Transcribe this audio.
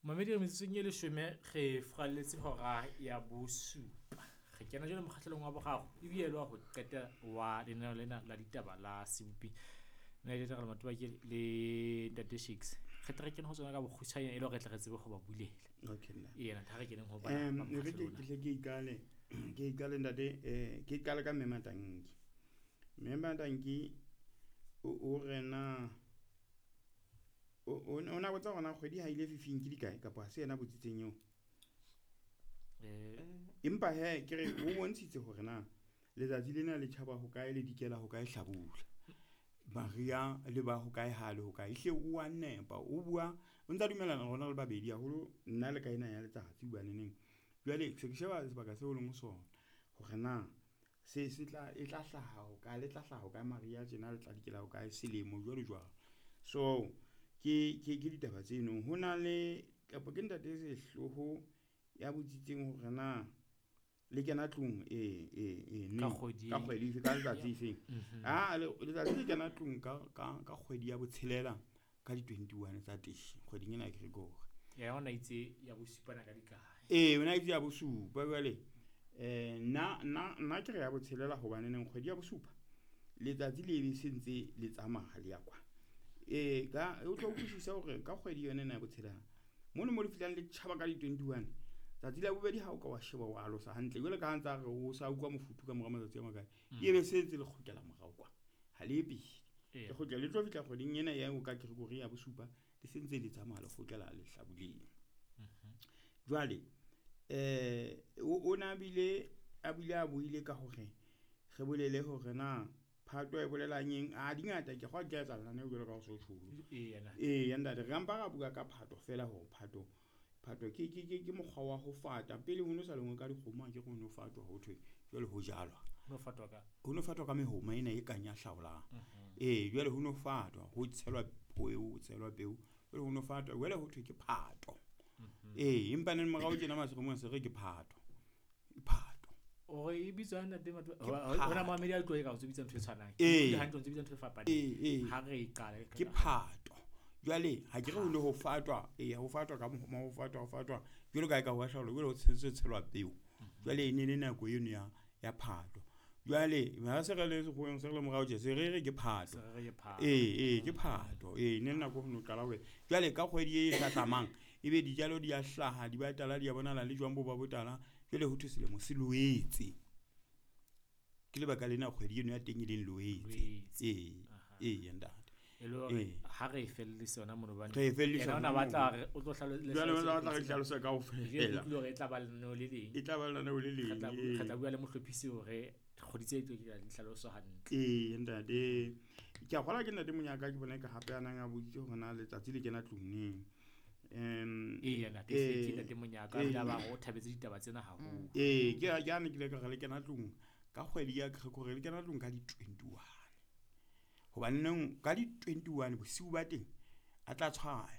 Mamedi re metsotsong e leshome re furalletse hora ya bosupa. Re kena jwale mokgahlelong wa boraro ebile e le wa ho qeta wa lenaneo lena la ditaba la sebopi. Nna le Thakgalo Matobakele le Ntate Shakes. Re tle re kene ho tsona ka bokgutshwanyane e le hore re tle re tsebe ho ba bulela. Okay, nna. Ee, ha re keneng ho bana ba E re mokgahlelo ona. ke hle ke iqale, ke iqale ntate, ke qale ka Mme Matanki. Mme Matanki o re na o na botsa hore na kgwedi ha ile fifing ke dikae kapa ha se yena botsitseng eo. Empa he ke re o bontshitse hore na letsatsi lena le tjhaba ho kae le dikela ho kae hlabula. Maria le ba ho kae ha le ho kae. Ehlile o a nepa, o bua o ntsa dumellana rona re le babedi haholo nna le ka ena ya letsatsi hobaneneng. Jwale se ke sheba sebaka seo o leng ho sona hore na se se tla e tla hlaha ho kae, le tla hlaha ho kae mariha tjena le tla dikela ho kae selemo jwalo jwalo. So ke ditaba tseno. Ho na le kapa ke ntate Sehloho ya botsitseng hore na le kena tlung e Ka neng, kgwedi ka kgwedi efe, ka letsatsi efeng. Ah, letsatsi le kena tlung ka kgwedi ya botshelela ka di 21 tsa teng kgweding ena ya Gregory. Yena o na itse ya bosupa na ka dikae? Ee, o na itse ya bosupa jwale. Nna ke re ya botshelela hobane neng kgwedi ya bosupa letsatsi le be se ntse le tsamaya le ya kwa. Ka o tlo utlwisisa hore ka kgwedi yona ena ya botshelela mono mo le fihlang le tjhaba ka di 21 tsatsi la bobedi ha o ka wa sheba wa alosa hantle jwale ka ha ntsa re o sa utlwa mofuthu ka mora matsatsi a makae, e be se ntse le kgutlela morao kwa ha le ye pele. Le kgutlela le tlo fihla kgweding ena ya o ka Gregory ya bosupa le se ntse le tsamaya le kgutlela lehlabuleng. Jwale o na bile a bile a buile ka hore re bolele hore na Phato e bolelang eng. A di ngata ke kgwa di tla etsahala neng jwalo ka ho so tjholo. Ee, yena. Ee, ntate, re mpa ra bua ka Phato fela hore Phato ke mokgwa wa ho fata. Pele ho no sa lengwe ka dikgomo, ha ke re ho no fatwa ho thwe jwale ho jalwa. Ho no fatwa ka? Ho no fatwa ka mehoma ena e kang ya hlaolang. Ee, jwale ho no fatwa, ho tshelwa peo, ho tshelwa peo. Jwale ho no fatwa, jwale ho thwe ke Phato. Ee, empa neng morao tjena maseremong se re ke Phato. Phato. Ore e bitswa ntate Matho, Ke hona Phato. mamedi a tlo e ka o bitsa ntho e tshwanang. Ee. Ke hantle o bitsa ntho e fapaneng. Ee, ee. Ha re e qala, Ke Phato. Jwale ha ke re ho ne ho fatwa, ee, ho fatwa ka mohoma, ho fatwa, ho fatwa. Jwalo ka ha e ka ho a hlaolwa, jwale ho tshetse tshelwa peo. Jwale e ne le nako eno ya Phato. Jwale ha se re le sekgoweng, se re le morao tje, se re re ke Phato. Se re re ke Phato. Ee, ee, ke Phato. Ee, ne le nako ho no qala ho. Jwale ka kgwedi e hlahlamang, ebe dijalo di a hlaha, di ba tala, di a bonahala le jwang bo ba botala. Jwale ho thwe selemo se loetse. Ke lebaka lena kgwedi eno ya teng e leng Loetse. Loetse. Ee, Aha. ee, ntate. E le hore Ee. ha re e fellise yona mono hobane Re e fellisa yena o na mono. batla hore o tlo Jwale o tla re hlalosa hlalosa kaofela. Ke utlwile hore e tla ba lenaneo le leng. E tla ba lenaneo le leng, Re ee. tla bua le mohlophisi hore kgwedi tse tlo ke di hlaloso hantle. Ee, ntate. Ke a kgolwa ke ntate Monyaka ke bona ka hape a nang a boditse hore na letsatsi le kena tlung neng. Ee, yena ke se ke ntate Monyaka, a bile a ba re o thabetse ditaba tsena haholo. Ee, ke a, ke a ne ke ile ka re le kena tlung ka kgwedi ya Gregory, le kena tlung ka di 21. Hobane neng ka di 21 bosiu ba teng a tla tshwaya.